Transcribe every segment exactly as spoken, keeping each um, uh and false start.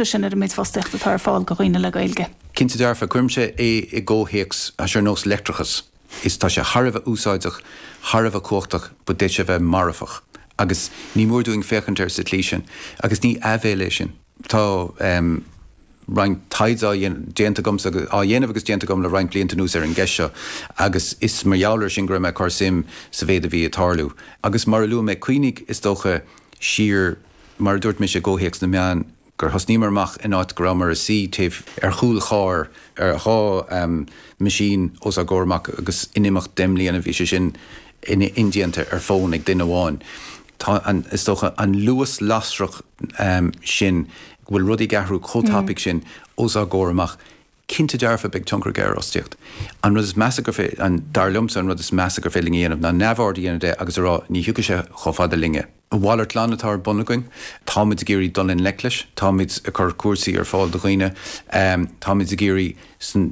Sin ar an méid fostaíocht atá ar fáil do dhaoine le Gaeilge. Cinnte dearfa, cuirimse é i gcomhthéacs ar nós leictreachas. Is tá sé thar a bheith úsáideach, thar a bheith cumhachtach, but d'fhéadfadh sé a bheith marfach. Agus ní mór dúinn féachaint air sa tslí sin, agus ní áibhéil é sin. Tá um, roinnt taighde déanta agamsa á dhéanamh agus déanta agam le roinnt blianta anuas ar an gceist seo, agus is mar gheall air sin go raibh mé ag cur suim sa mhéid a bhí ag tarlú. Agus mar a luaigh mé, cuimhnigh is dócha siar, mar a dúirt mise i gcomhthéacs na meán, gur thosnaíomar amach in áit go rabhamar ag suí taobh ar chúl chairr ar dhá um, machine os ár gcomhair amach agus in imeacht deich mbliana bhí sé sin indéanta ar fón ag duine amháin. Tá an, is dócha an luas lasrach um, sin go bhfuil rudaí ag athrú chomh tapaidh sin os ár gcomhair amach. Cinnte dearfa beidh tionchar aige ar fhostaíocht. An rud is measa gur fé, an dar liomsa an rud is measa gur féidir linn a dhéanamh ná neamhaird a dhéanamh de agus a rá ní thiocfaidh sé chomh fada linne. A mhalairt glan atá ar bun againn, táimid ag iarraidh dul i ngleic leis, táimid ag cur cúrsaí ar fáil do dhaoine, um, táimid ag iarraidh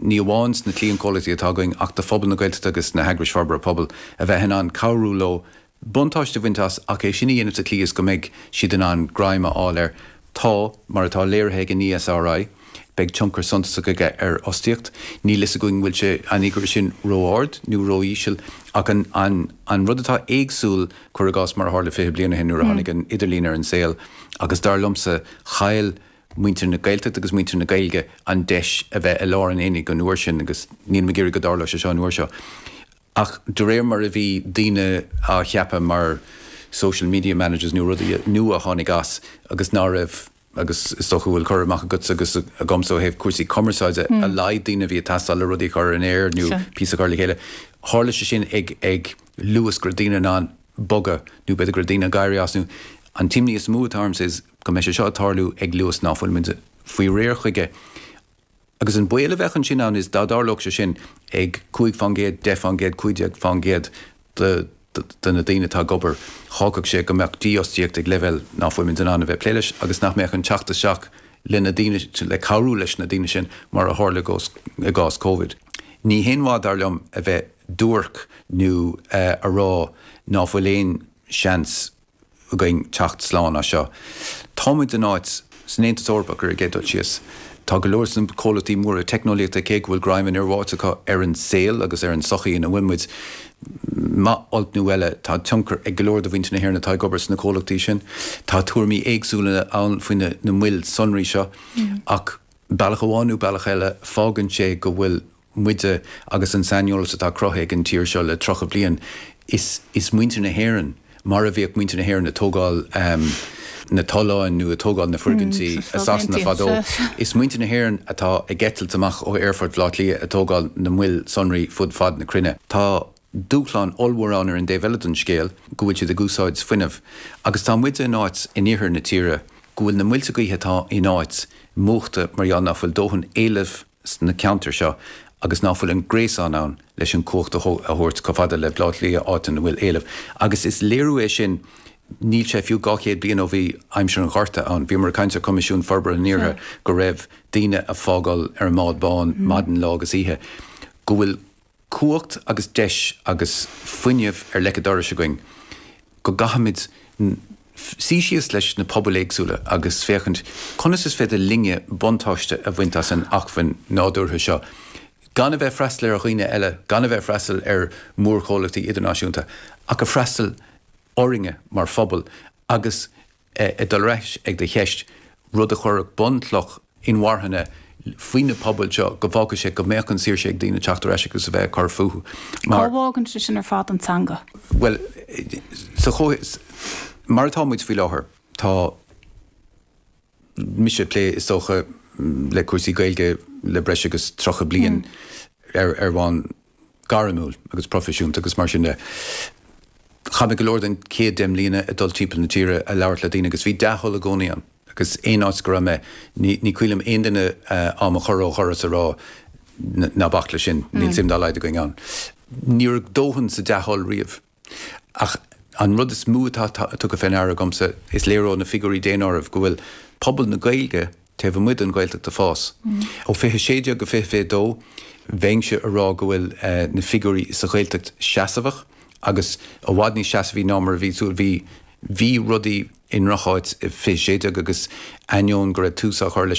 ní amháin sna cliantchomhlachtaí atá againn ach do phobal na Gaeltachta agus na heagrais forbartha pobail a bheith in ann cabhrú leo buntáiste a bhaint as ach é sin a dhéanamh sa tslí is go mbeidh siad in ann greim a fháil air. Tá, mar atá léirithe ag an E S R I, beidh tionchar suntasach aige ar fhostaíocht. Níl fhios againn bhfuil sé an fhigiúr sin ró-ard nó ró-íseal ach an, an, an rud atá éagsúil, cuir i gcás, mar a tharla fiche bliain ó shin nuair a tháinig an idirlíon ar an saol, agus dar liomsa chaill muintir na Gaeltachta agus muintir na Gaeilge an deis a bheith i lár an aonaigh an uair sin agus níl mé ag iarraidh go dtarlódh sé seo an uair seo. Ach de réir mar a bhí daoine á cheapadh mar social media managers nó rudaí nua a tháinig as agus ná raibh, agus is dócha bhfuil cur amach agat agus agamsa ó thaobh cúrsaí cumarsáide, a laghad daoine a bhí ag teastáil le rudaí a chur in aer nó píosa a chur le chéile. Tharla sé sin ag ag luas go raibh daoine in ann bogadh nó b'fhéidir go raibh daoine ag éirí as nó an t-imní is mó atá ormsa is go mbeidh sé seo ag tarlú ag luas ná fuil muid faoi réir chuige. Agus an baol a bheadh ansin ann is dá dtarlódh sé sin ag cúig faoin gcéad, deich faoin gcéad, cúig déag faoin gcéad de de na daoine atá ag obair, fágfadh sé go mbeadh dífhostaíocht ag leibhéal ná fuil muid in ann a bheith plé leis agus nach mbeadh an teacht isteach le na daoine le cabhrú leis na daoine sin mar a tharla i gcás Covid. Ní haon mhaith dar liom a bheith duairc nó uh, a rá ná fuil aon seans againn teacht slán as seo. Táimid in áit san Aontas Eorpach ar an gcéad dul síos. Tá go leor sna comhlachtaí móra teicneolaíochta, cé go bhfuil greim an fhir bháite acu ar an saol agus ar an sochaí ina bhfuil muid, maith, olc nó eile, tá tionchar ag go leor de mhuintir na hÉireann atá ag obair sna comhlachtaí sin. Tá tuairimí éagsúla ann faoi na, na moil sonraí seo mm. ach bealach amháin nó bealach eile fágann sé go bhfuil muide agus an saineolas atá cruthaithe ag an tír seo le tríocha bliain is, is muintir na hÉireann, mar a bhíodh muintir na hÉireann ag tógáil um, na tolláin nó ag tógáil na foirgintí mm, i Sasana fadó. Is muintir na hÉireann atá ag eitilt amach ó Aerfort Bhaile Átha Cliath ag tógáil na moil sonraí fud fad na cruinne. Tá dúshlán ollmhór ann ar an dtaobh eile den scéal go bhfuil siad ag úsáid fuinnimh. Agus tá muid in áit in iarthar na tíre go bhfuil na muilte gaoithe atá in áit múchta mar gheall nach bhfuil dóthain éilimh sna ceantair seo agus ná fuil an gréasán ann leis an cumhacht a thabhairt chomh fada le Baile Átha Cliath, áit ina bhfuil éileamh. Agus is léiriú é sin, níl sé fiú dhá chéad bliain ó bhí aimsir an Ghorta ann. Bhíomar ag caint ar Coimisiún Forbartha an Iarthair go raibh daoine ag fágáil ar an mbád bán maidin, lá agus oíche. Go bhfuil cumhacht agus deis agus fuinneamh ar leic an dorais againn, go gcaithfimid suí síos leis na pobail éagsúla agus féachaint conas is féidir linne buntáiste a bhaint as an acmhainn nádúrtha seo, gan a bheith freastal ar dhaoine eile, gan a bheith freastal ar mhórchomhlachtaí idirnáisiúnta, ach a freastal orainne mar phobal agus ag dul ar ais ag do cheist, rud a chuirfeadh bunchloch inmharthana faoi na pobail seo go bhfágfadh sé go mbeadh an saoirse ag daoine teacht ar ais agus a bheith ag cur fúthu. Cá bhfágann sé sin ar fad an teanga? Well, sa mar atá muid faoi láthair, tá mise ag plé is dócha le cúrsaí Gaeilge le breis agus tríocha bliain ar ar bhonn gairmiúil agus proifisiúnta agus mar sin de. Chaith mé go leor den chéad deich mbliana ag dul timpeall na tíre ag labhairt le daoine agus bhí dea-thoil i gcónaí ann agus aon áit go raibh mé ní ní cuimhin liom aon duine á mo chur ó dhoras a rá ná bac leis sin, níl suim dá laghad againn ann. Ní raibh dóthain sa dea-thoil riamh. Ach an rud is mó atá tugtha fé ndeara agamsa, is léir ó na figiúirí daonáirimh go bhfuil pobal na Gaeilge taobh amuigh den Ghaeltacht ag fás. Ó fiche sé déag go fiche fiche dó, bheinnse a rá go bhfuil na figiúirí sa Ghaeltacht seasamhach agus i bhfad níos seasamhaí ná mar a bhí súil. Bhí bhí rudaí i ndrocháit fiche sé déag agus ainneoin go raibh tús á chur leis